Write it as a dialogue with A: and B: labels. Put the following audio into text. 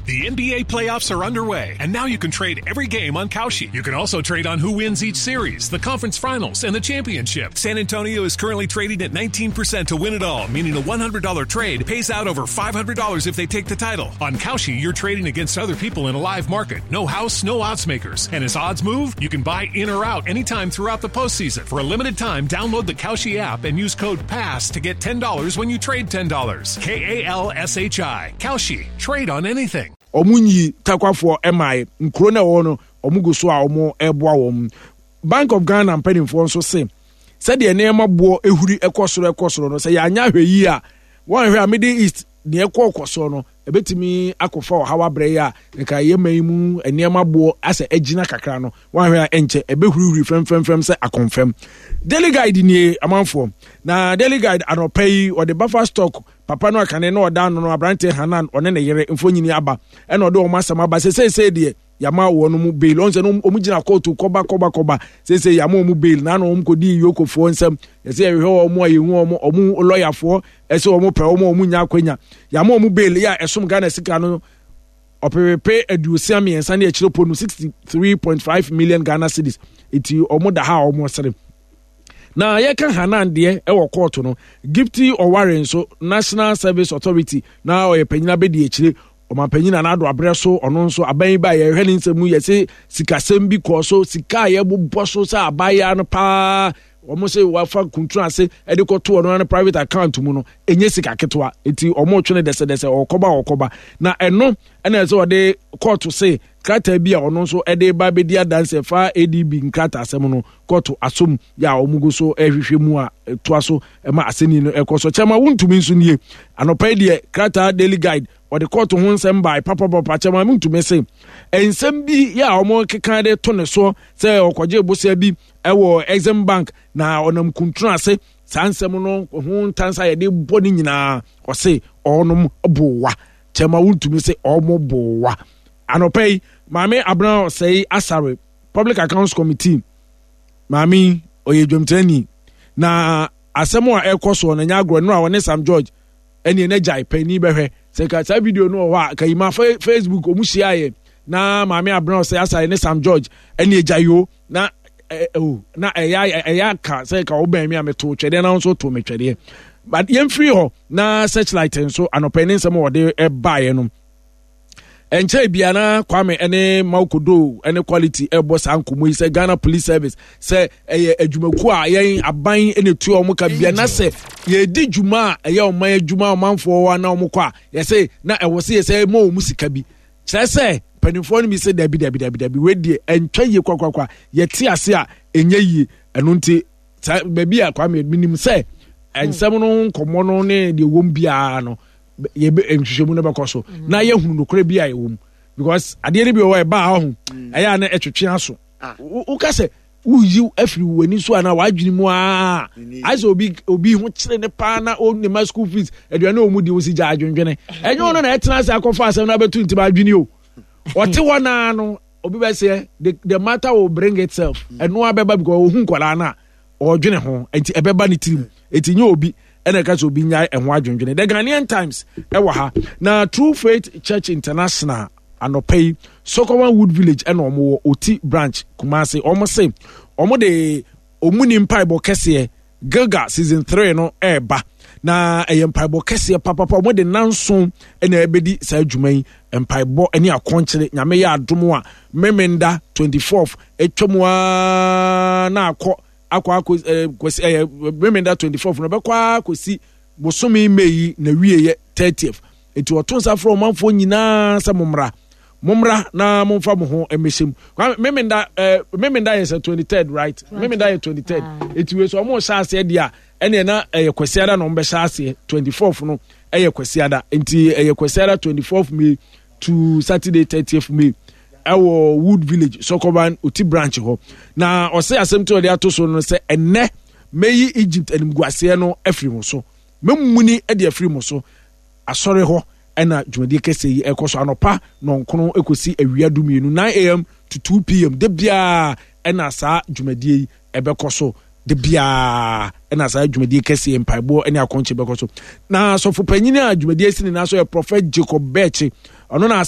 A: The NBA playoffs are underway, and now you can trade every game on Kalshi. You can also trade on who wins each series, the conference finals, and the championship. San Antonio is currently trading at 19% to win it all, meaning a $100 trade pays out over $500 if they take the title. On Kalshi, you're trading against other people in a live market. No house, no odds makers. And as odds move, you can buy in or out anytime throughout the postseason. For a limited time, download the Kalshi app and use code PASS to get $10 when you trade $10. K A L S H I. Kalshi. Trade on anything.
B: Wɔn nyi Tarkwafoɔ mmaeɛ. Nkuro no a ɛwɔ hɔ no, wɔn gu so a wɔreboa wɔn. Bank of Ghana mpanimfoɔ nso se, sɛdeɛ nneɛma boɔ huri kɔ soro kɔ soro no, sɛ yɛanyɛ ahwɛyie a, wɔanhwɛ a Middle East deɛ ɛkɔ kɔ soɔ no, ɛbɛtumi akɔfa ɔhaw abrɛ yi a nka yɛ man yi mu nneɛma boɔ asɛ agyina kakra no, wɔanhwɛ a ɛnkyɛ ɛbɛhurihuri fɛmfɛmfɛm sɛ akɔmfɛm. Daily Guide nie amanfoɔ. Na Daily Guide anɔpa yi, wɔde buffer stock Papa no a kane na ɔda ano no, aberanteɛ Hanan, ɔne ne yere mfonini aba, ɛna ɔde wɔn asɛm aba sɛ seesei deɛ yɛama wɔn mu bail. Ɔn sɛ no wɔn gyina kóòtù kɔba kɔba kɔba, seesei yɛama wɔn bail. Na wɔn kɔdii yokofoɔ nsam, yɛsɛ yɛhwehwɛ wɔn a yɛhu wɔn, wɔn lɔyafoɔ ɛsɛ wɔn pɛ wɔn a wɔn nya akwanya. Yɛama wɔn bail yɛ a ɛsom Ghana sika no ɔpepepe 63 ne akyire po no 63.5 million Ghana cedis. Eti wɔn da ha a wɔn sere. Na yɛka Hanan deɛ ɛwɔ kɔɔto no, Gifty Ɔware nso, National Service Authority na ɔyɛ panyin abɛdi akyire. Ɔmanpanyin Nana Addo abrɛ so, ɔno nso aban yi ba yɛhwɛ ne nsɛm mu yɛse sikasɛm bi kɔɔ so, sika a yɛbobɔ so sɛ abaayewa no paa wɔn sɛ wafa kuntun ase de kɔto ɔno ano private account mu no ɛnyɛ sika ketewa nti wɔn retwe no dɛsɛdɛsɛ ɔkɔba ɔkɔba na ɛno ɛna ɛsɛ ɔde kɔɔto se krataa bi a ɔno nso ɛde ba bɛdi adanse fa adb nkrataa asɛm no kɔɔto asom yɛ a wɔn gu so rehwehwɛ mu a ɛtoa so ma asɛnni no ɛkɔ so. Kyɛma wontumi nso nie. Anɔpa yi deɛ krataa Daily Guide wɔde kɔɔto ho nsɛm bae papapapa. Kyɛma wontumi se nsɛm bi yɛ a wɔn keka de to ne soɔ sɛ ɔkɔgye bosea bi ɛwɔ Exim Bank na ɔnam kuntunu ase saa nsɛm no ho ntansa yɛde bɔ ne nyinaa ɔse ɔnom bowa. Kyɛma wontumi se ɔmo bowa. Anɔpa yi maame Abena Ɔsɛe Asare Public Accounts Committee maame yi ɔyɛ dwamtirani na asɛm a ɛkɔ soɔ no nyɛ agorɔ no a ɔne Sam George ɛne ɛna gyae panyin bɛhwɛ sɛ ka saa video no wɔ hɔ a ka yi ma Facebook ɔmu hyiaeɛ na maame abena ɔsɛ asae ne Sam George ɛne agya yoo na ɛo na ɛyɛ ɛyɛ aka sɛ ka wobɛn me a meto twɛdeɛ na nso to me twɛdeɛ but yɛmfiri hɔ na searchlight nso anɔpɛ ne nsɛm a wɔde ɛbaeɛ no ɛnkyɛe bia na Kwame ne Maukodo ne Quality ɛbɔ saa nkɔmmɔ yi sɛ Ghana Police Service sɛ ɛyɛ adwumakuo a yɛn aban na etua wɔn ka bia na sɛ yɛdi dwuma a ɛyɛ ɔman adwuma ɔmanfoɔ hɔ na wɔn kɔ a yɛsɛ na ɛwɔ sɛ yɛsɛ ma wɔn sika bi kyerɛ sɛ mpanimfoɔ no bi sɛ dabi dabi dabi dabi wei deɛ ɛntwa yie kwakwakwa yɛte ase a ɛnyɛ yie ɛno nti saa baabi a Kwame menim sɛ nsɛm no nkɔmmɔ no ne deɛ wɔm biara no yɛbɛ nhwehwɛmu no bɛkɔ so mm. na yɛhunu nokorɛ bi a ɛwɔ mu because adeɛ no bi wɔ hɔ ɛbaa ɔho mm. ɛyɛ a na ɛtwetwe aso ah. woka sɛ woyi afiri w'ani so anaa w'adwene mu aa ayɛ sɛ obi obi ho kyerɛ ne paa na ɔne ma school fees aduane a wɔn di wɔsi gya adwendwene ɛnyɛ ɔno na ɛtena ase akɔfa asɛm no abɛto ntim adwene o ɔte hɔ naa no obi bɛ seɛ the matter will bring itself ɛno abɛba because ohun nkwadaa no a ɔredwene ho nti ɛbɛba ne tirim nti nyɛ obi ɛna ɛka sɛ obi nyae ɛho adwendwene the Ghanaian Times ɛwɔ ha na True Faith Church International anɔpa yi Sokoban Wood Village ɛna wɔn wɔ Oti branch Kumasi wɔn se wɔn de wɔn ni mpaebɔ kɛseɛ Gilgal season 3 no ɛreba na ɛyɛ mpaebɔ kɛseɛ papapa wɔn de nanson ɛna ɛbɛdi saa adwuma yi mpaebɔ ne akɔnkyere nyame yɛ adom a memenda 24th atwa mu aa na akɔ akɔ akɔ ɛɛ kwasi ɛyɛ memenda 24th no bɛkɔ akɔsi bosome May yi na wieɛ 30th nti ɔto nsa frɛ ɔmanfoɔ nyinaa sɛ mommra mommra na momfa mo ho mmɛhyɛ mu memenda ɛɛ memenda yɛ sɛ 23rd right memenda yɛ 23rd nti wei so ɔmo hyɛ aseɛ deɛ a ɛneɛ na ɛyɛ kwasiada na ɔmo bɛhyɛ aseɛ 24th no ɛyɛ kwasiada nti ɛyɛ kwasiada 24th May to Saturday 30th May ɛwɔ Wood Village Sokoban Oti branch hɔ na ɔsɛ asɛm tí ɔde ato so no sɛ ɛnɛ mɛyi Egypt animguaseɛ no afiri mo so mɛmuni de afiri mo so asɔre hɔ ɛna dwumadie kɛseɛ yi ɛkɔ so anɔpa nɔnkono ɛkɔsi awia dumienu 9am to 2pm da biara ɛna saa dwumadie yi ɛbɛkɔ so da biara ɛna saa dwumadie kɛseɛ mpaeboɔ ne akɔnkye bɛkɔ so na sɔfo panyin a dwumadie si ne nan so yɛ Prophet Jacob Bɛɛkye ɔno na asa.